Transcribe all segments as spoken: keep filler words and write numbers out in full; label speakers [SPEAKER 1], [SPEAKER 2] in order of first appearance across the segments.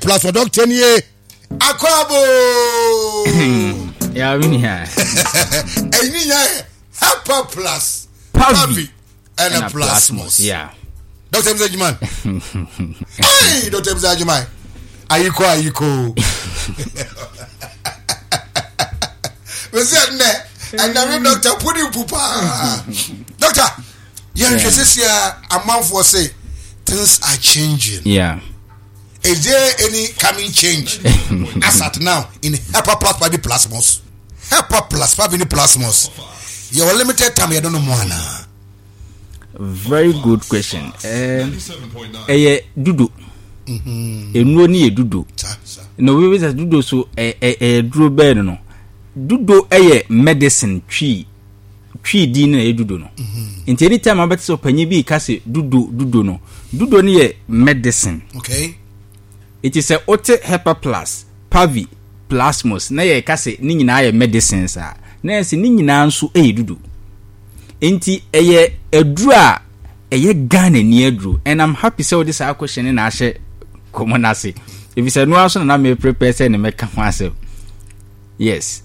[SPEAKER 1] Plus for doctor nie. Akwabo.
[SPEAKER 2] Ya mi ni ha.
[SPEAKER 1] Ɛyi nya yɛ Hepa Plus. Pavi. Ɛna Plasmos.
[SPEAKER 2] Yeah.
[SPEAKER 1] Doctor Musa Juman. Hey, Doctor Musa Juman. Ayiko ayiko. Mese ɛnɛ ɛnɛ mi doctor puni pupa. Doctor, yɛn hwɛ sisi a amanfoɔ say things are changing.
[SPEAKER 2] Yeah.
[SPEAKER 1] Is there any coming change as at now in Hepa Plus Pavi Plasmos? Hepa Plus Pavi Plasmos. Your limited time, you don't know more now.
[SPEAKER 2] Very good question. Ɛyɛ dudo. Enuo ni yɛ dudo. Na obi bisa dudo so ɛyɛ duro bɛɛ no no. Dudo ɛyɛ medicine twi twi din na ɛyɛ dudo no. Nti anytime abɛte sɛ ɔpanyin bi ka sɛ dudo dudo no, dudo no yɛ medicine.
[SPEAKER 1] Okay.
[SPEAKER 2] Nti sɛ wote Hepa Plus, Pavi, Plasmos na yɛ ka sɛ ne nyinaa yɛ medicines a, na yɛ sɛ ne nyinaa nso ɛyɛ dudo. Nti ɛyɛ aduro a ɛyɛ Ghana ni aduro, and I'm happy sɛ wode saa question ne na ahyɛ kɔmɔ n'ase. Efisɛ noa nso na na me prepare sɛ ne mɛka ho asɛm. Yes.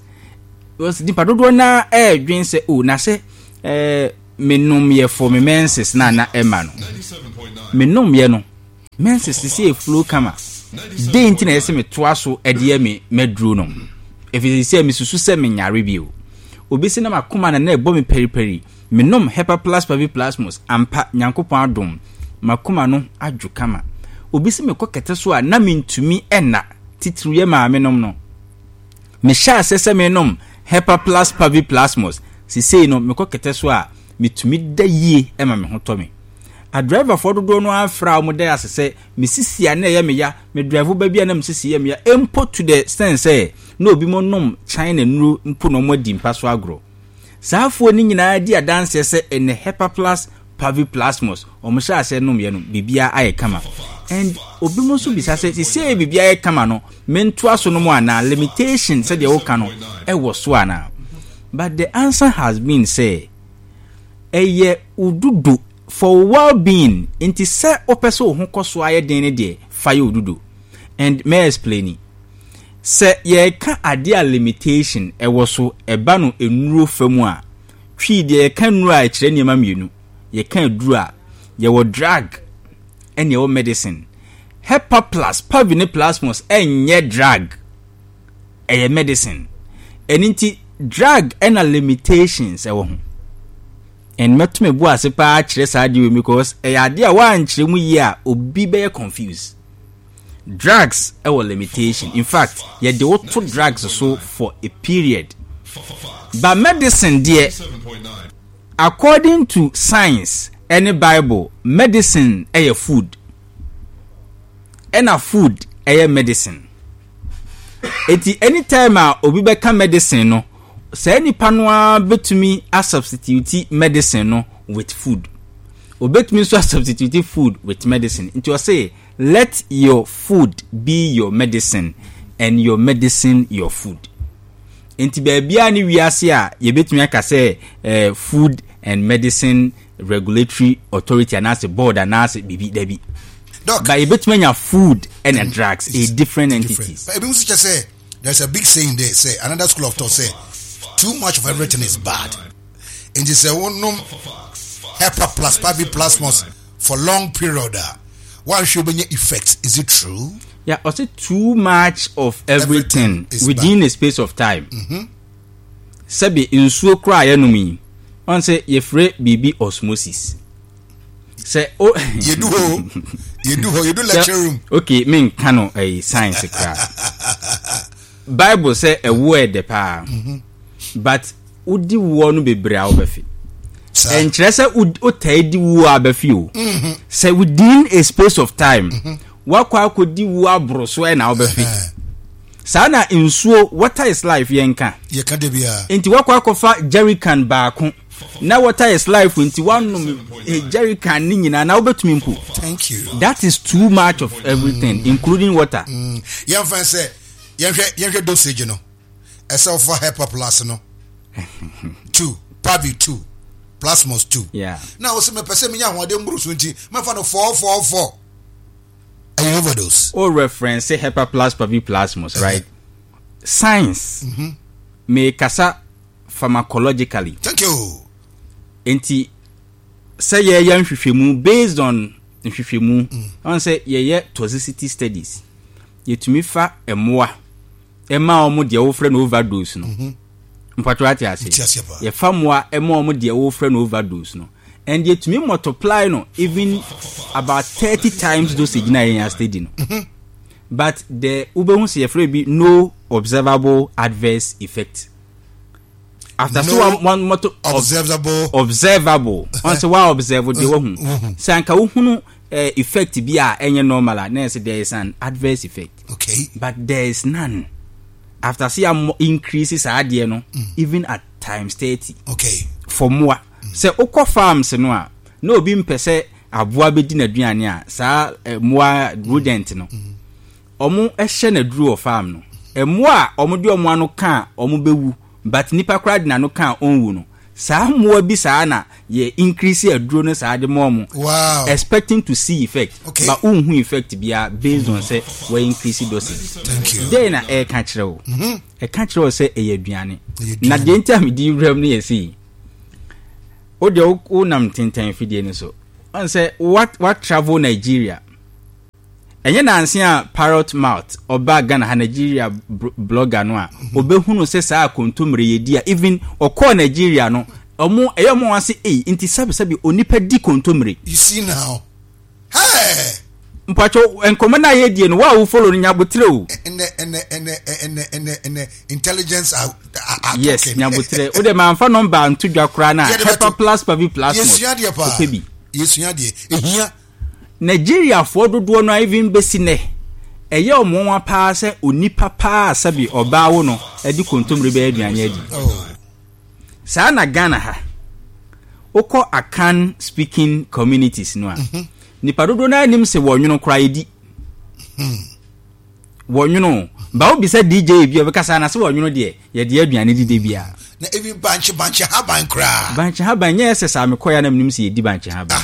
[SPEAKER 2] Because nipa dodoɔ naa ɛɛdwen sɛ o na sɛ ɛɛ menom yɛ for me menses na na ɛma no. Menom yɛ no menses sisi eflow kama. Den nti na ɛsɛ metoa so ɛde yɛ me mɛduro no. Efisɛ sɛ mesusu sɛ menyare bio. Obi sɛ na makoma na na ɛbɔ me periperi. Menom Hepa Plus Pavi Plasmos ampa Nyankopɔn adom makoma no adwo kama. Obi sɛ mekɔ kɛtɛ so a na mentumi ɛna titiriw yɛ maame nom no. Mehyɛ ase sɛ menom Hepa Plus Pavi Plasmos sesei no mekɔ kɛtɛ so a metumi da yie ɛma me ho tɔ me. Adriverfoɔ dodoɔ no afra a wɔn da ase sɛ me sisi a na ɛyɛ me ya, me drive ba bi a na me sisi yɛ me ya mpo to the extent sɛ na obi mo nom China nuro mpo na wɔn adi mpa so agorɔ. Saa afoɔ no nyinaa di adanseɛ sɛ ɛnɛ Hepa Plus Pavi Plasmos wɔn hyɛ aseɛ nom yɛ no biribiara ayɛ kama. And obi mo nso bisa sɛ sisei biribiara ayɛ kama no mentoa so nom anaa, limitation sɛdeɛ woka no ɛwɔ so anaa? But the answer has been sɛ ɛyɛ odudo for well-being. Nti sɛ wopɛ sɛ wo ho kɔ so ayɛ den ne deɛ fa yɛ odudo. And may explain sɛ yɛka adeɛ a limitation ɛwɔ so ɛba no nnuro fa mu a, twi deɛ yɛka nnuro a ɛkyerɛ nneɛma mmienu. Yɛka aduro a yɛwɔ drug ɛne ɛwɔ medicine. Hepa Plus Pavi ne Plasmos ɛnyɛ drug, ɛyɛ medicine. Ɛno nti drug ɛna limitations ɛwɔ ho. And mɛto bo ase paa kyerɛ saa adeɛ wei because ɛyɛ adeɛ a woankyerɛ mu yie a obi bɛyɛ confused. Drugs ɛwɔ limitation. In fact, yɛde woto drugs so for a period. But medicine deɛ, according to science ɛne Bible, medicine ɛyɛ food. Ɛna food ɛyɛ medicine. Eti anytime a obi bɛka medicine no, saa nipa no ara bɛtumi asubstitute medicine no with food. Obetumi nso asubstitute food with medicine. Nti ɔse let your food be your medicine and your medicine your food. Nti baabiara ne wiase a yɛbɛtumi aka sɛ eh, Food and Medicine Regulatory Authority anaasɛ board anaasɛ biribi dabi.
[SPEAKER 1] Doc,
[SPEAKER 2] But yɛbɛtumi anya food and drugs, a different entities.
[SPEAKER 1] But ebi nso kyɛ sɛ there's a big saying there say another school of thought say too much of everything is bad. Nti sɛ wonom Hepa Plus Pavi Plasmos for long period a wanhwɛ wobɛnya effect. Is it true?
[SPEAKER 2] Yeah, ɔsɛ too much of everything,
[SPEAKER 1] Everything is
[SPEAKER 2] within a space of time. Sɛbi nsuo koraa a yɛnom yi, ɔn sɛ yɛfrɛ biribi osmosis. Sɛ o
[SPEAKER 1] Yɛdu hɔ yɛdu hɔ yɛdu lecture room.
[SPEAKER 2] Okay, menka no ɛyi science koraa. Bible sɛ ɛwoɔ ɛdɛ paa. But wodi woɔ no bebree a wobɛfe.
[SPEAKER 1] Saa.
[SPEAKER 2] Ɛnkyerɛ sɛ wotaa di wuo a bɛfe o. Sɛ within a space of time, wakɔ akɔdi wuo aboro so ɛna wobɛfe. Saa na nsuo, water is life yɛnka.
[SPEAKER 1] Yɛka de biara.
[SPEAKER 2] Nti wakɔ akɔfa jerrycan baako na water is life nti wanom eh, jerrycan ne nyinaa na wobɛtumi mpo.
[SPEAKER 1] Thank you.
[SPEAKER 2] That is too much of everything, including water.
[SPEAKER 1] Mm. Yɛmfa sɛ yɛnhwɛ yɛnhwɛ dosage no. Ɛsɛ wofa Hepa Plus no two, Pavi two, Plasmos two.
[SPEAKER 2] Yeah.
[SPEAKER 1] Na wo sɛ mepɛ sɛ menya ahoɔden mboro so nti mɛfa no four four four. Ɛyɛ overdose.
[SPEAKER 2] O reference Hepa Plus, Pavi Plasmos, right? Science mekasa pharmacologically.
[SPEAKER 1] Thank you.
[SPEAKER 2] Nti sɛ yɛyɛ nhwehwɛmu based on nhwehwɛmu, ɔn sɛ yɛyɛ toxicity studies, yɛtumi fa mmoa ɛma wɔn deɛ wɔfrɛ no overdose no. Mpatwa, ate ase?
[SPEAKER 1] Nti aseɛ paa.
[SPEAKER 2] Yɛfa mmoa ɛma wɔn deɛ wɔfrɛ no overdose no and yɛtumi multiply no even about thirty times dosage na yɛn study no, but the wobɛhu sɛ yɛfrɛ bi no observable adverse effect after so
[SPEAKER 1] No
[SPEAKER 2] one one multi
[SPEAKER 1] observable.
[SPEAKER 2] Observable, ɔn sɛ wa observe deɛ wahu sɛ anka wohunu eh, effect bi a ɛnyɛ normal a, na yɛ sɛ there is an adverse effect,
[SPEAKER 1] okay
[SPEAKER 2] but there is none after sɛ yɛ increase saa adeɛ no even at times thirty
[SPEAKER 1] okay
[SPEAKER 2] for mmoa. Sɛ wokɔ farms no a, na obi mpɛ sɛ aboa bɛdi n'aduane a, saa eh, mmoa rodent no, ɔmo hyɛ n'aduro wɔ farm no. Mmoa a ɔmo de ɔmo ano ka a ɔmo bɛwu, but nipa koraa de n'ano ka a ɔnwu no, saa mmoa bi saa na yɛ increase aduro no saa de ma ɔmo
[SPEAKER 1] wow
[SPEAKER 2] expecting to see effect,
[SPEAKER 1] Okay.
[SPEAKER 2] but wonhu effect biara based on sɛ wɔ increase dosage.
[SPEAKER 1] Thank you.
[SPEAKER 2] Dɛn na ɛreka kyerɛ wo? Ɛka kyerɛ wo sɛ ɛyɛ aduane.
[SPEAKER 1] Ɛyɛ aduane.
[SPEAKER 2] Na deɛ nti a mede wuram no yɛ sei, wo deɛ wo- wonam tentan fidie no so, ɔn sɛ what what travel Nigeria, ɛnyɛ nanse a Parrot Mouth ɔba Ghana ha, Nigeria bro- blogger no a ɔbɛhunu sɛ saa kontommire yɛdi a, even ɔkɔɔ Nigeria no, ɔmo ɛyɛ ɔmo wa se ei, nti sɛbesɛbe onipa di kontommire?
[SPEAKER 1] You see now, hey.
[SPEAKER 2] Mpatwɛ, nkɔmmɔ no a yɛdie no, wo a wo follow no, nyabotrɛ o.
[SPEAKER 1] ɛnɛ ɛnɛ ɛnɛ ɛnɛ ɛnɛ ɛnɛ intelligence are, are, are
[SPEAKER 2] Yes.
[SPEAKER 1] talking.
[SPEAKER 2] Nyabotrɛ, wode mamfa number nto dwa koraa no a
[SPEAKER 1] Yɛde
[SPEAKER 2] Hepa
[SPEAKER 1] bɛto.
[SPEAKER 2] Plus, Pavi Plus,
[SPEAKER 1] Yɛsua deɛ paa.
[SPEAKER 2] wopɛ bi.
[SPEAKER 1] Yɛsua deɛ ehia.
[SPEAKER 2] Nigeriafoɔ dodoɔ no a, even bɛsi nnɛ, ɛyɛ ɔmo nwa paa sɛ onipa paa sɛbi ɔbaa wo no ɛde kontommire bɛyɛ aduane adi.
[SPEAKER 1] Oh.
[SPEAKER 2] Saa na Ghana ha, wokɔ Akan speaking communities no a, nipa dodoɔ no anim sɛ wɔnwono koraa yɛdi wɔnwono ba. Wobisa D J bi a, ɔbɛka saa na sɛ wɔnwono deɛ yɛde aduane dide biara.
[SPEAKER 1] Na ebi bankye bankye haban koraa.
[SPEAKER 2] Bankye haban nyɛ sɛ saa mekɔɛ na menim sɛ yɛdi bankye haban.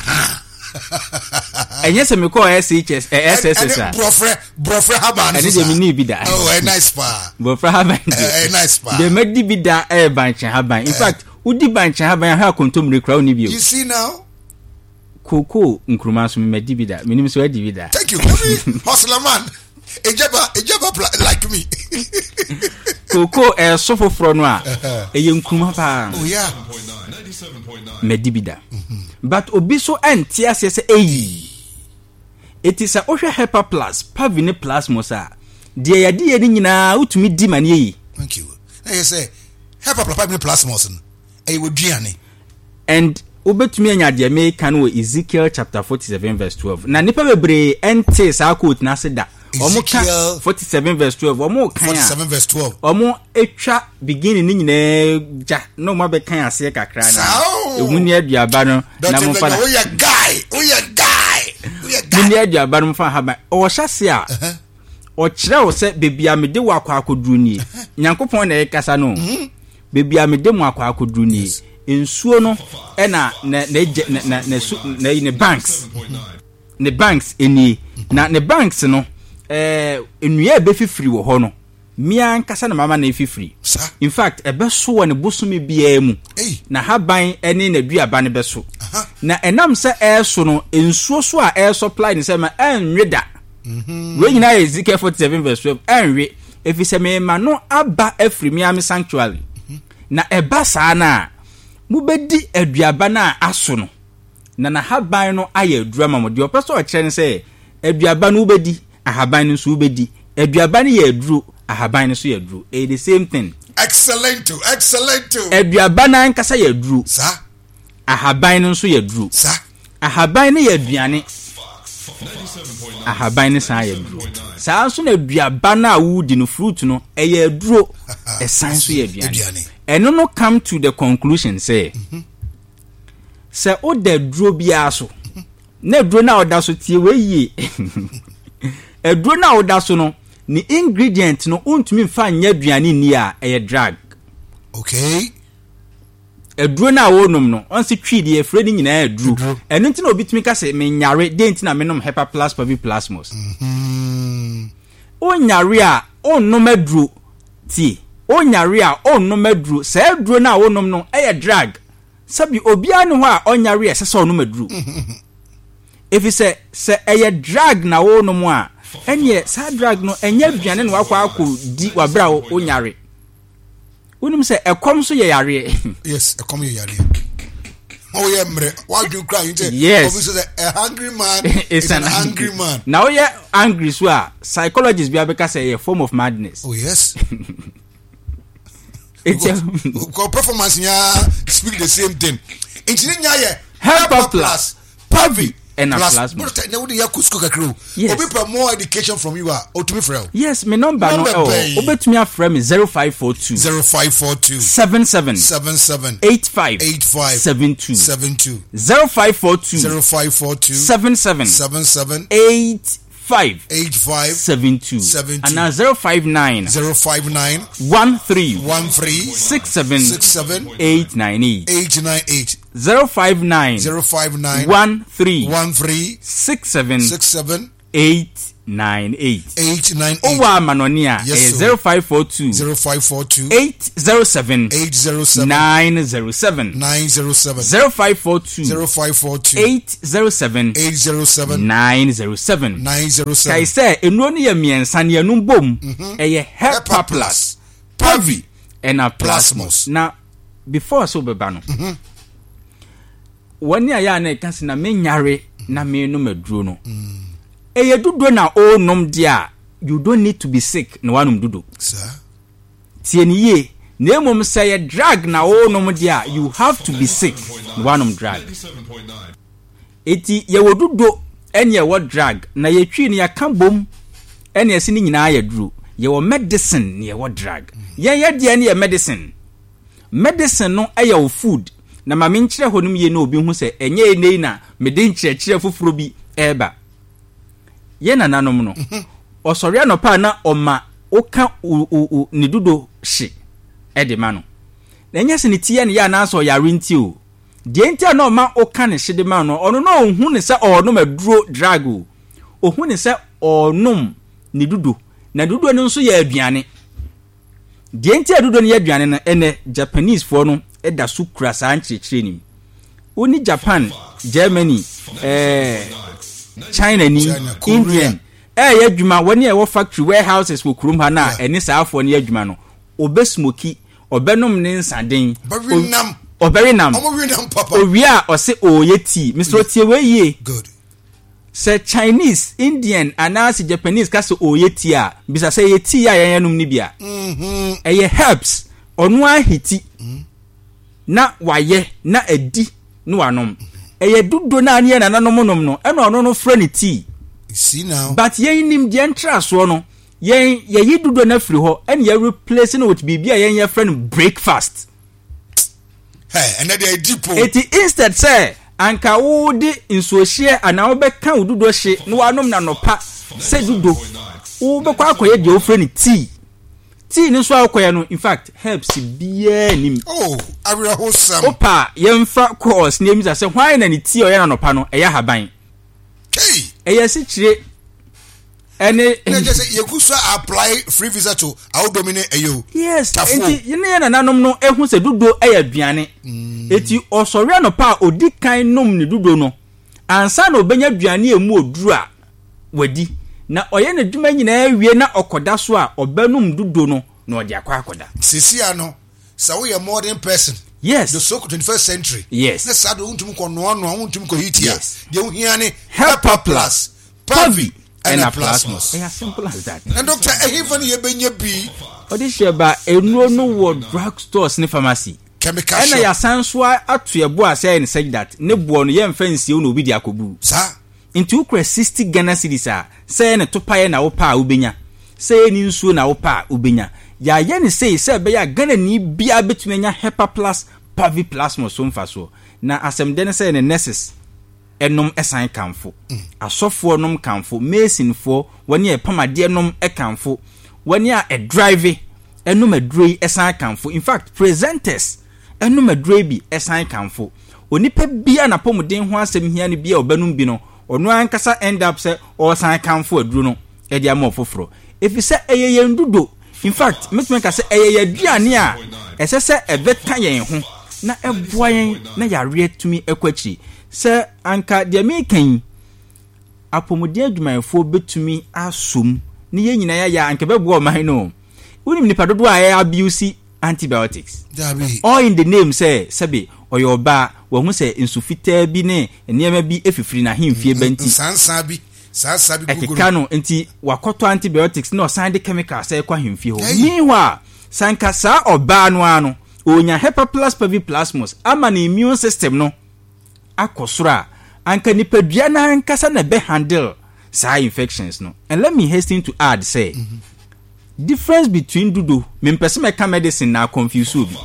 [SPEAKER 2] Ɛnyɛ sɛ mekɔɔ S H S eh, S S S a.
[SPEAKER 1] Ɛne borɔfrɛ borɔfrɛ haban no.
[SPEAKER 2] Ɛne
[SPEAKER 1] so
[SPEAKER 2] deɛ
[SPEAKER 1] saa.
[SPEAKER 2] menii bi da.
[SPEAKER 1] Oh, ɛyɛ nice paa.
[SPEAKER 2] Borɔfrɛ haban deɛ,
[SPEAKER 1] ɛyɛ nice paa.
[SPEAKER 2] Deɛ madi bi da ɛyɛ bankye haban. In fact, wodi bankye haban ahwɛ akontommire koraa wonni bio.
[SPEAKER 1] You see now.
[SPEAKER 2] Kookoo nkuruma nso madi bi da. Menim sɛ wadi bi da.
[SPEAKER 1] Thank you. Every hustler man, ejaba ejaba pla- like me.
[SPEAKER 2] Kookoo ɛɛso foforɔ no a, ɛyɛ nkuruma paa.
[SPEAKER 1] Oh yeah.
[SPEAKER 2] Madi bi da, but obi so ɛnte aseɛ sɛ ɛyi ɛti sɛ wohwɛ Hepa Plus, Pavi ne Plasmos a, deɛ yɛde yɛ no nyinaa wotumi di ma ne yɛyi.
[SPEAKER 1] Thank you. Ɛyɛ sɛ Hepa Plus, Pavi ne Plasmos no, ɛyɛ wɔ duane.
[SPEAKER 2] And wobɛtumi anya deɛ meka no wɔ Ezekiel chapter forty-seven verse twelve, na nnipa bebree ɛnte saa quote no ase da. Ɔmo ka
[SPEAKER 1] Ezekiel
[SPEAKER 2] forty-seven verse twelve, ɔmo kan a
[SPEAKER 1] forty-seven verse twelve.
[SPEAKER 2] Ɔmo atwa beginning ne nyinaa gya na ɔmo abɛkan aseɛ kakra na
[SPEAKER 1] Saa o.
[SPEAKER 2] ehu ne aduaba no na
[SPEAKER 1] Doctor
[SPEAKER 2] momfa
[SPEAKER 1] Benya,
[SPEAKER 2] na
[SPEAKER 1] woyɛ guy, woyɛ guy, woyɛ guy.
[SPEAKER 2] Monni aduaba no mfa haban ɔwɔ hyɛ a ɔkyerɛ wo sɛ beebi a mede wɔ akɔ akɔduru nie. Nyankopɔn na ɛkasa no, beebi a mede mo akɔ akɔduru nie, nsuo no ɛna na na egye na na na su na ne banks ne banks nie, na ne banks no, ɛɛ nnua a ɛbɛfifiri wɔ hɔ no, mmea nkasa na mama na efifiri.
[SPEAKER 1] Saa.
[SPEAKER 2] In fact, ɛbɛso wɔ ne bosome biara mu.
[SPEAKER 1] Ei.
[SPEAKER 2] Na haban ne n'aduaba no bɛso.
[SPEAKER 1] Aha.
[SPEAKER 2] Na ɛnam sɛ ɛɛso no, nsuo so a ɛɛsupply ne sɛ ma ɛnwe da. Wei nyinaa yɛ Ezekiel forty-seven verse twelve. Ɛnwe ɛfiri sɛ mema no aba afiri me ame sanctuary, na ɛba saa no a, mobɛdi aduaba no a aso no na n'ahaban no ayɛ aduru ama mo. Deɛ ɔpɛ sɛ ɔkyerɛ no sɛ aduaba no wobɛdi, ahaban no nso wobɛdi. Aduaba no yɛ aduro, ahaban no nso yɛ aduro. Ɛyɛ the same thing.
[SPEAKER 1] Excellent, excellent.
[SPEAKER 2] Aduaba no ankasa yɛ aduro.
[SPEAKER 1] Saa.
[SPEAKER 2] Ahaban no nso yɛ aduro.
[SPEAKER 1] Saa.
[SPEAKER 2] Ahaban no yɛ aduane, ahaban no san yɛ aduro. Saa nso na aduaba no a wodi no, fruit no, ɛyɛ aduro, ɛsan nso yɛ aduane.
[SPEAKER 1] Aduane.
[SPEAKER 2] Ɛno no come to the conclusion sɛ sɛ woda aduro biara so na aduro no a woda so, tie wei yie, aduro no a woda so no, ne ingredient no wontumi mfa nyɛ aduane nni a, ɛyɛ drug.
[SPEAKER 1] Okay.
[SPEAKER 2] Aduro no a wɔnom no, ɔnse twi deɛ yɛfrɛ no nyinaa aduro. Ɛno nti na obi tumi ka sɛ menyare, deɛ nti na menom Hepa Plus Pavi Plasmos. Wonyare a wonnom aduro. Tie, wonyare a wonnom aduro. Saa aduro no a wonom no ɛyɛ drug. Sɛbi obiara ne hɔ a ɔnyare a ɛsɛ sɛ ɔnom aduro. Ɛfiri sɛ sɛ ɛyɛ drug na wonom a, ɛneɛ saa drug no ɛnyɛ aduane na wakɔ akɔ di wabrɛ a wonyare. Wonim sɛ ɛkɔm nso yɛ yareɛ.
[SPEAKER 1] Yes, ɛkɔm yɛ yareɛ. Woyɛ mmerɛ wadwene kura yi sɛ
[SPEAKER 2] yes
[SPEAKER 1] obi sɛ a hungry man is an angry man.
[SPEAKER 2] Na woyɛ angry so a, psychologist bi abɛka sɛ ɛyɛ form of madness.
[SPEAKER 1] Oh yes.
[SPEAKER 2] It's a
[SPEAKER 1] because performance nya speak the same thing. Nti ne nya yɛ
[SPEAKER 2] Hepa Plus,
[SPEAKER 1] Pavi
[SPEAKER 2] ɛna Plasma.
[SPEAKER 1] Na wode yɛ kɔ sukuu kakra o.
[SPEAKER 2] Yes.
[SPEAKER 1] Obi pɛ more education from you a, otumi frɛ o.
[SPEAKER 2] Yes, me number no
[SPEAKER 1] Number
[SPEAKER 2] ɛwɔ.
[SPEAKER 1] bɛn?
[SPEAKER 2] Wobɛtumi afrɛ me zero five four two
[SPEAKER 1] zero five four two
[SPEAKER 2] seven seven
[SPEAKER 1] seven seven
[SPEAKER 2] eight five
[SPEAKER 1] eight five
[SPEAKER 2] seven two
[SPEAKER 1] seven two
[SPEAKER 2] zero five four two
[SPEAKER 1] zero five four two
[SPEAKER 2] seven seven
[SPEAKER 1] seven seven
[SPEAKER 2] eight five
[SPEAKER 1] eight five
[SPEAKER 2] seven two
[SPEAKER 1] seven two
[SPEAKER 2] ana zero five nine
[SPEAKER 1] zero five nine
[SPEAKER 2] one three
[SPEAKER 1] one three
[SPEAKER 2] six seven
[SPEAKER 1] six seven
[SPEAKER 2] eight nine eight
[SPEAKER 1] eight nine eight
[SPEAKER 2] zero five nine
[SPEAKER 1] zero five nine
[SPEAKER 2] one three
[SPEAKER 1] one three
[SPEAKER 2] six seven
[SPEAKER 1] six seven
[SPEAKER 2] eight nine eight.
[SPEAKER 1] eight nine eight.
[SPEAKER 2] Owó amanɔni a
[SPEAKER 1] Yes,
[SPEAKER 2] ɛyɛ
[SPEAKER 1] sir.
[SPEAKER 2] zero five four two
[SPEAKER 1] zero five four two
[SPEAKER 2] eight zero seven
[SPEAKER 1] eight zero seven
[SPEAKER 2] nine zero seven
[SPEAKER 1] nine zero seven
[SPEAKER 2] zero five four two
[SPEAKER 1] zero five four two
[SPEAKER 2] eight zero seven
[SPEAKER 1] eight zero seven
[SPEAKER 2] nine zero seven.
[SPEAKER 1] nine zero
[SPEAKER 2] Kae
[SPEAKER 1] seven.
[SPEAKER 2] sɛ nnuro no yɛ mmiɛnsa ne ɛnum bom ɛyɛ Hepa Plus, Pavi ɛna Plasmos.
[SPEAKER 1] Plasmos.
[SPEAKER 2] Na before sɛ wobɛba no, wɔne a yɛ a na ɛka sɛ na menyare na menom aduro no, ɛyɛ dudo na ɔrenom deɛ a, you don't need to be sick na wanom dudo.
[SPEAKER 1] Sir.
[SPEAKER 2] Tie ne yie. Na mmom sɛ yɛ drug na ɔrenom deɛ a, you have to be sick na wanom drug. Eti yɛwɔ dudo ɛne yɛwɔ drug na yɛtwi no yɛka bom ɛne ɛsi ne nyinaa yɛ duro. Yɛwɔ medicine na yɛwɔ drug. Yɛn yɛ deɛ ne yɛ medicine. Medicine no ɛyɛ wo food. Na ma menkyerɛ hɔ nom yie na obi hu sɛ ɛnyɛ ɛnɛ yi na mede nkyerɛkyerɛ foforɔ bi ɛreba. Yɛn nananom no, ɔsɔre anɔpa a na ɔma woka wo wo wo ne dudo hye ɛde ma no. Na ɛnyɛ sɛ ne ti yɛ ne yɛ anaasɛ ɔyare nti o. Deɛ nti a na ɔma woka ne hye de ma no, ɔno na ɔnhu ne sɛ ɔrenom aduro drug o. Ɔhu ne sɛ ɔrenom ne dudo. Na dudo no nso yɛ aduane. Deɛ nti a dudo no yɛ aduane no, ɛnɛ Japanese foɔ no ɛda so kura saa nkyerɛkyerɛ nim. Wo ne Japan, Germany, ɛɛ China ni,
[SPEAKER 1] China, Korea.
[SPEAKER 2] Indian ɛyɛ adwuma, wɔne a ɛwɔ factory warehouses wɔ kurom ha na ɛne saa afoɔ no yɛ adwuma no, ɔbɛ smoke, ɔbɛnom ne nsaden,
[SPEAKER 1] Ɔbɛwe nam.
[SPEAKER 2] ɔbɛwe nam.
[SPEAKER 1] Ɔmo we nam papa.
[SPEAKER 2] Owie a ɔse ɔɔyɛ tea. Mister Otie wei yie.
[SPEAKER 1] Good.
[SPEAKER 2] Sɛ Chinese, Indian anaasɛ Japanese ka sɛ ɔɔyɛ tea a, bisa sɛ ɛyɛ tea a yɛn yɛnom no bi a. Ɛyɛ herbs. Ɔno ahiti na wayɛ na adi na wanom. Ɛyɛ dodo na ne yɛ nananom nom no, ɛna ɔno no frɛ ne tea.
[SPEAKER 1] You see now.
[SPEAKER 2] But yɛn nim deɛ ntrasoɔ no, yɛn yɛyi dodo no afiri hɔ ɛna yɛ replace no with biribi a yɛn yɛfrɛ no breakfast.
[SPEAKER 1] Hey, ɛnɛ deɛ deep o.
[SPEAKER 2] Eti instead sɛ anka wode nsuohyeɛ anaa wobɛka wo dodo hye na wanom na nɔpa sɛ dodo, wobɛkɔ akɔyɛ deɛ wofrɛ no tea. Tea no nso a wokɔyɛ no, in fact herbs biara nim.
[SPEAKER 1] Oh, awerɛhosɛm.
[SPEAKER 2] Wopa yɛmfa course na emisa sɛ hwan na ne tea a ɔyɛ no anɔpa no ɛyɛ ahaban.
[SPEAKER 1] Hey.
[SPEAKER 2] Ɛyɛ asikyire ɛne.
[SPEAKER 1] Na kyerɛ sɛ yɛgu so apply free visa to awodomi ne ɛyɛ o.
[SPEAKER 2] Yes,
[SPEAKER 1] Tafo.
[SPEAKER 2] nti ne yɛ nananom no ehu sɛ dodo ɛyɛ aduane. Eti ɔsɔre anɔpa a odi kan nom ne dodo no, ansa na obenya aduane a emu oduru a wadi. Na ɔyɛ n'adwuma nyinaa wie na ɔkɔda so a ɔbɛnom dodo no na ɔde akɔ akɔda.
[SPEAKER 1] Sisi ano, sɛ woyɛ modern person.
[SPEAKER 2] Yes.
[SPEAKER 1] The so twenty first century.
[SPEAKER 2] Yes.
[SPEAKER 1] Ne saa de wontumi kɔ noa noa, wontumi kɔ heat a.
[SPEAKER 2] Yes.
[SPEAKER 1] Deɛ wohia ne
[SPEAKER 2] Hepa Plus,
[SPEAKER 1] Pavi
[SPEAKER 2] ɛna
[SPEAKER 1] ɛna
[SPEAKER 2] Plasmos.
[SPEAKER 1] Plasmos.
[SPEAKER 2] Ɛyɛ simple as that.
[SPEAKER 1] Na doctor, ɛhefa ne yɛbɛnya bi?
[SPEAKER 2] Ɔde hyɛ ba nnuro no wɔ drug stores ne pharmacy.
[SPEAKER 1] Chemical
[SPEAKER 2] Ɛna
[SPEAKER 1] shop.
[SPEAKER 2] yɛasan so ato ɛbo a sɛ ɛyɛ ne such that ne boɔ no yɛmfa nsie na obi de akɔbu.
[SPEAKER 1] Saa.
[SPEAKER 2] Nti wokura sixty Ghana cedis a, sɛ ɛyɛ ne topaeɛ na wopɛ a wobɛnya, sɛ ɛyɛ ne nsuo na wopɛ a wobɛnya. Yɛayɛ ne sei sɛ ɛbɛyɛ a Ghana ni biara bɛtumi anya Hepa Plus, Pavi Plasmos so mfasoɔ. Na asɛm dɛ ne sɛ ne nurses ɛnom ɛsan kamfo, asɔfoɔ nom kamfo, masonfoɔ wɔne a ɛpam adeɛ nom kamfo, wɔne a ɛdrive ɛnom aduro yi ɛsan kamfo. In fact, presenters Ɛnom aduro bi ɛsan kamfo. Onipa bia n'apɔmuden ho asɛm hia no bia ɔbɛnom bi no, ɔno ankasa end up sɛ ɔresan kamfo aduro no ɛde ama ɔfoforɔ. Ɛfiri sɛ ɛyɛ yɛn dudo. In fact, mɛtumi ka sɛ ɛyɛ yɛn aduane a ɛsɛ sɛ ɛbɛka yɛn ho na ɛboa yɛn na yareɛ tumi ɛkɔ akyiri. Sɛ anka deɛ meka yi, apɔmuden adwumayɛfoɔ bɛtumi asom ne yɛn nyinaa yɛayɛ a, anka ɛbɛboa ɔman no. Wonim nipa dodoɔ a ɛyɛ abuse antibiotics?
[SPEAKER 1] Dabi.
[SPEAKER 2] All in the name sɛ sɛbe ɔyɛ ɔbaa, wahu sɛ nsu fitaa bi ne nneɛma bi efifiri n'ahemfie ba nti
[SPEAKER 1] nsansan bi sansan bi guguru.
[SPEAKER 2] Ɛkeka no nti wakɔtɔ antibiotics na ɔsan de chemical sɛ ɛkɔ ahemfie hɔ.
[SPEAKER 1] Hey.
[SPEAKER 2] Meanwhile, sanka saa ɔbaa no ara no onya Hepaplas Paviplasmus ama ne immune system no akɔ soro a, anka nipadua no ankasa na ɛbɛ handle saa infections no. And let me hasten to add sɛ difference between dudo, mempɛ sɛ mɛka medicine na confuse obi,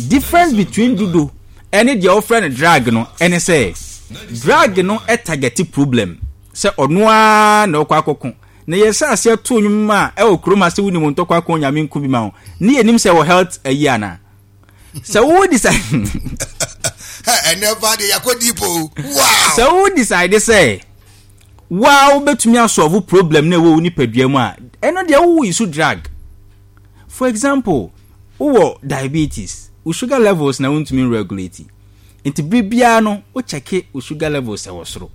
[SPEAKER 2] difference between dudo ɛne deɛ wɔfrɛ no drug no ɛne sɛ drug no ɛtarget problem sɛ ɔno ara na ɔkɔ akɔko na yɛhyɛ aseɛ to nnwom a ɛwɔ kurom ha sɛ wonim ntɔkwa ko Nyame nko bi ma wo ne yɛnim sɛ wɔ health ayi anaa sɛ wo decide.
[SPEAKER 1] Ɛnɛ ba de yakɔ deep o, wow.
[SPEAKER 2] Sɛ wo decide sɛ waa wobɛtumi asolve problem na ɛwɔ wo nipadua mu a, ɛno deɛ wowo yi so drug. For example, wowɔ diabetes, wo sugar levels na wontumi regulate, nti bere biara no wokyɛke wo sugar levels ɛwɔ soro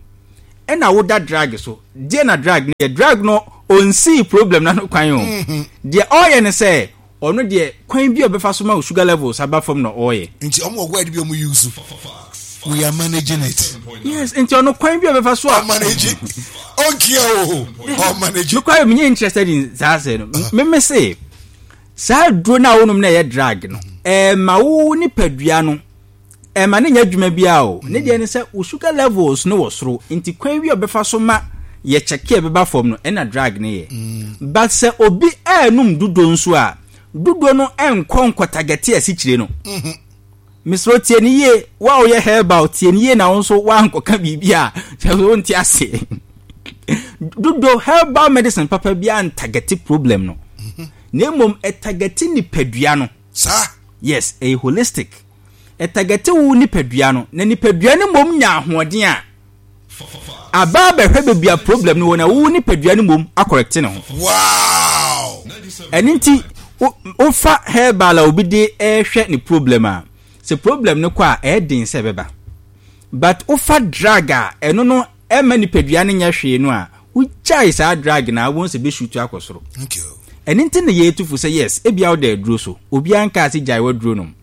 [SPEAKER 2] ɛna woda drug so deɛ, na drug no yɛ drug no ɔnsii problem na no kwan o. Deɛ ɔyɛ ne sɛ ɔno deɛ, kwan bi a ɔbɛfa so ma wo sugar levels aba fam na ɔyɛ.
[SPEAKER 1] Nti ɔmo wɔ word bi ɔmo use, "We are managing it."
[SPEAKER 2] Yes, nti ɔno kwan bi a ɔbɛfa so a
[SPEAKER 1] ɔmanage ɔnkia o, ɔmanage.
[SPEAKER 2] Nokware menyɛ interested in saa sɛ no. Meme se saa duro no a wonom no ɛyɛ drug no, ɛma wo nipadua no ɛma ne nyɛ adwuma biara o. Ne deɛ ne sɛ wo sugar levels no wɔ soro, nti kwan bi a ɔbɛfa so ma yɛ kyɛke a ɛbɛba fam no ɛna drug no yɛ. But sɛ obi ɛɛnum dudo nso a, dudo no ɛnkɔ nkɔtarget asikyire no. Mesrɛ, tie ne yie. Wo a woyɛ herbal, tie ne yie na wo nso woankɔka biribi a kyerɛ sɛ wonte ase. Dodo herbal medicine papa bi antarget problem no, na mmom ɛtarget nipadua no.
[SPEAKER 1] Saa.
[SPEAKER 2] Yes, ɛyɛ holistic. Ɛtarget wo nipadua no na nipadua no mmom nya ahoɔden a aba abɛhwɛ baabi a problem no wɔ na wo nipadua no mmom acorrect ne ho.
[SPEAKER 1] Wow
[SPEAKER 2] ɛno nti wo- wofa herbal a obi de ɛrehwɛ ne problem a, sɛ problem no kɔ a, ɛyɛ den sɛ ɛbɛba, but wofa drug a, ɛno no ɛma nipadua no nyɛ hwee no a, wogyae saa drug na wobɛhu sɛ bɛsutu akɔ soro.
[SPEAKER 1] Okay
[SPEAKER 2] ɛno nti na yɛtu fo sɛ yes, ebia woda aduro so, obiara nkaa sɛ gyae w'aduro nom,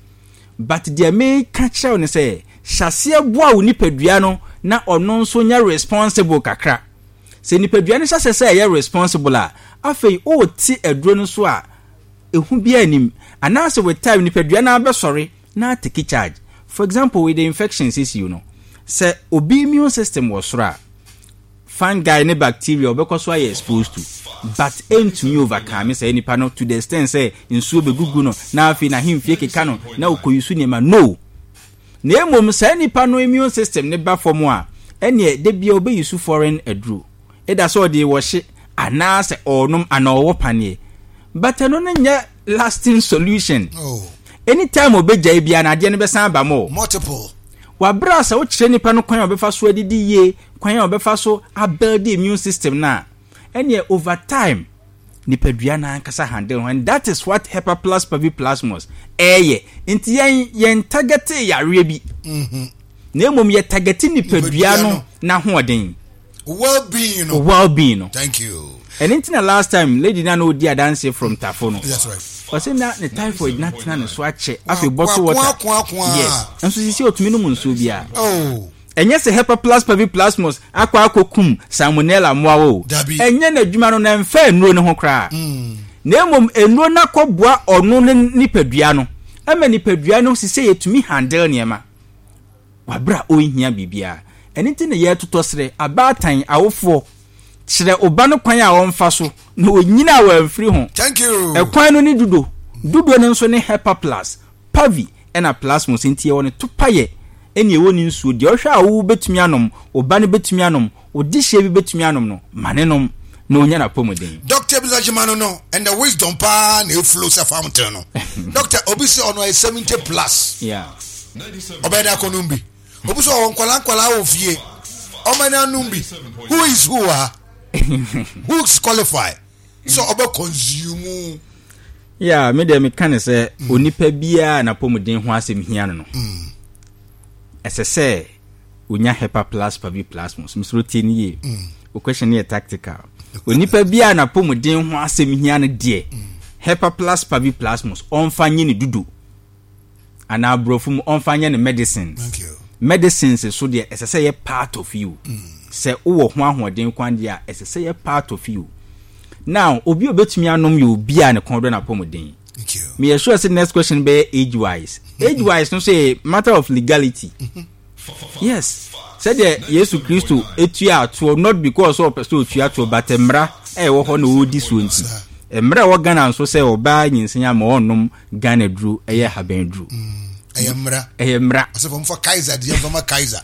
[SPEAKER 2] but deɛ meka kyerɛ wo ne sɛ hyɛaseɛ boa wo nipadua no na ɔno nso nyɛ responsible kakra. Sɛ nipadua no hyɛ sɛ sɛ ɛyɛ responsible a, afei wote aduro no so a, ehu bi anim anaasɛ with time nipadua no abɛsɔre na take charge. For example, with the infections issue no, sɛ obi immune system wɔ soro a, fungi ne bacteria ɔbɛkɔ so ayɛ exposed to, but ɛntumi overcome sɛ nipa no to the extent sɛ nsuo bɛgugu no na afei n'ahemfie keka no na ɔkɔyi so nneɛma no. Na mmom saa nipa no immune system ne ba fam a, ɛneɛ da bia ɔbɛyi so foreign aduro ɛda sɛ ɔde wɔhye anaasɛ ɔnom anaa ɔwɔ paneɛ, but ɛno no nyɛ lasting solution.
[SPEAKER 1] Oh.
[SPEAKER 2] Anytime ɔbɛgyae bia na adeɛ no bɛsan aba ma o.
[SPEAKER 1] Multiple.
[SPEAKER 2] Wabrɛ a sɛ wokyerɛ nipa no kwan a ɔbɛfa so adidi yie, kwan a ɔbɛfa so abuild immune system no a, ɛneɛ over time nipadua no ankasa handle ho, and that is what Hepaplus Paviplasmus ɛyɛ. Nti yɛn yɛn target yareɛ bi, na mmom yɛ target nipadua no n'ahoɔden.
[SPEAKER 1] Well-being no.
[SPEAKER 2] Well-being no.
[SPEAKER 1] Thank you.
[SPEAKER 2] Ɛno nti na last time lady na na ɔdi adanse from Tafo no,
[SPEAKER 1] that's right
[SPEAKER 2] ɔsɛ na ne typhoid na tena ne so akyɛ, afei bottle water.
[SPEAKER 1] Wa- kwa- kwa.
[SPEAKER 2] Yes, nso sisi otumi nom nsuo biara.
[SPEAKER 1] Oh.
[SPEAKER 2] Ɛnyɛ sɛ Hepaplus Paviplasmus akɔ akɔkum salmonella mmoawa o.
[SPEAKER 1] Dabi.
[SPEAKER 2] Ɛnyɛ n'adwuma no na ɛmfa nnuro no ho koraa, na mmom nnuro no akɔboa ɔno ne nipadua no ɛma nipadua no sisɛ yɛtumi handle nneɛma wabere a ɔnhia biribiara. Ɛno nti na yɛtotɔ serɛ abaatan awofoɔ, kyerɛ ɔba no kwan a ɔmfa so na ɔnyina a wɔamfiri ho.
[SPEAKER 1] Thank you.
[SPEAKER 2] Ɛkwan no ne dudo dudo no nso ne Hepaplus Pavi ɛna Plasmos. Nti yɛwɔ ne topayɛ ɛne ɛwɔ ne nsuo deɛ ɔhwɛ a wo bɛtumi anom, ɔba no bɛtumi anom, ɔde hyɛ bi bɛtumi anom no, ma ne nom Na onya n'apɔmuden.
[SPEAKER 1] Doctor Bisa Gyima no no and the wisdom paa na eflow sɛ fountain no. Doctor, obi sɛ ɔno ayɛ seventy plus,
[SPEAKER 2] Yeah.
[SPEAKER 1] ɔbɛyɛ dɛ akɔnom bi. Obi sɛ ɔwɔ nkwalaa nkwalaa wɔ fie, ɔmɛ ne anom bi. Who is who ha? Who is qualified sɛ ɔbɛ consume?
[SPEAKER 2] Yeah, me deɛ, meka ne sɛ onipa biara n'apɔmuden ho asɛm hia no no ɛsɛ sɛ onya Hepa Plus Pavi Plasmos. Mesoro tie no yie, o question no yɛ tactical. Onipa biara n'apɔmuden ho asɛm hia no deɛ, Hepa Plus Pavi Plasmos, ɔmfa nye ne dudo anaa aborɔfo mu ɔmfa nyɛ ne medicines.
[SPEAKER 1] Thank you.
[SPEAKER 2] Medicines so deɛ, ɛsɛ sɛ yɛ part of you. Sɛ wowɔ ho ahoɔden kwan deɛ a, ɛsɛ sɛ yɛ part of you. Now, obi a obetumi anom yɛ obi a ne kɔn dɔ n'apɔmuden.
[SPEAKER 1] Thank you.
[SPEAKER 2] Meyɛ sure sɛ next question bɛyɛ age wise. Age wise no so yɛ matter of legality, yes. Sɛdeɛ Yesu Kristo etua atoɔ, not because ɔpɛ sɛ otua atoɔ, but mmara ɛwɔ hɔ na ɔredi soɔ. Nti mmara ɛwɔ Ghana nso sɛ ɔbaa nyinsɛn ama ɔnnom Ghana duro, ɛyɛ haban duro.
[SPEAKER 1] Ɛyɛ mmara.
[SPEAKER 2] Ɛyɛ mmara.
[SPEAKER 1] Ɔsɛ fɔ mfa Kaiser deɛ mfa ma Kaiser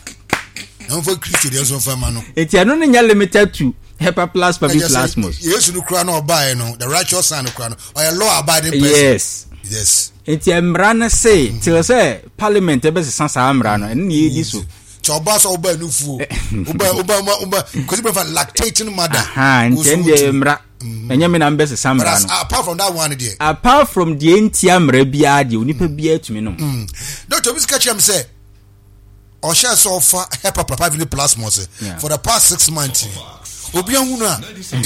[SPEAKER 1] na mfa Kristo deɛ nso mfa ma no.
[SPEAKER 2] Nti ɛno no nyɛ limited to Hepa Plus Pavi
[SPEAKER 1] Ɛkyɛ sɛ
[SPEAKER 2] Plasmos.
[SPEAKER 1] Yesu no kura na ɔbaeɛ no, the righteous son no kura no, ɔyɛ law abiding person.
[SPEAKER 2] Yes.
[SPEAKER 1] Yes.
[SPEAKER 2] Nti mmara no se till sɛ parliament ɛbɛsesa saa mmara no, ɛno ne yɛdi so.
[SPEAKER 1] Kyɛ ɔbaa sɛ ɔbaa nufuo, ɔbaa ɔbaa ɔbaa ɔbaa kwasi bɛfa lactating mother.
[SPEAKER 2] Aha, nti ɛno deɛ yɛ mmara, ɛnyɛ me na mbɛsesa
[SPEAKER 1] But
[SPEAKER 2] mmara
[SPEAKER 1] as,
[SPEAKER 2] no.
[SPEAKER 1] Apart from that one deɛ,
[SPEAKER 2] apart from deɛ ntia mmara biara deɛ, onipa biara tumi nom.
[SPEAKER 1] Doctor, obi sika kyerɛ me sɛ ɔhyɛ sɛ ɔfa Hepa Plus Pavi Plasmos
[SPEAKER 2] Yeah.
[SPEAKER 1] for the past six months, obi ahunu a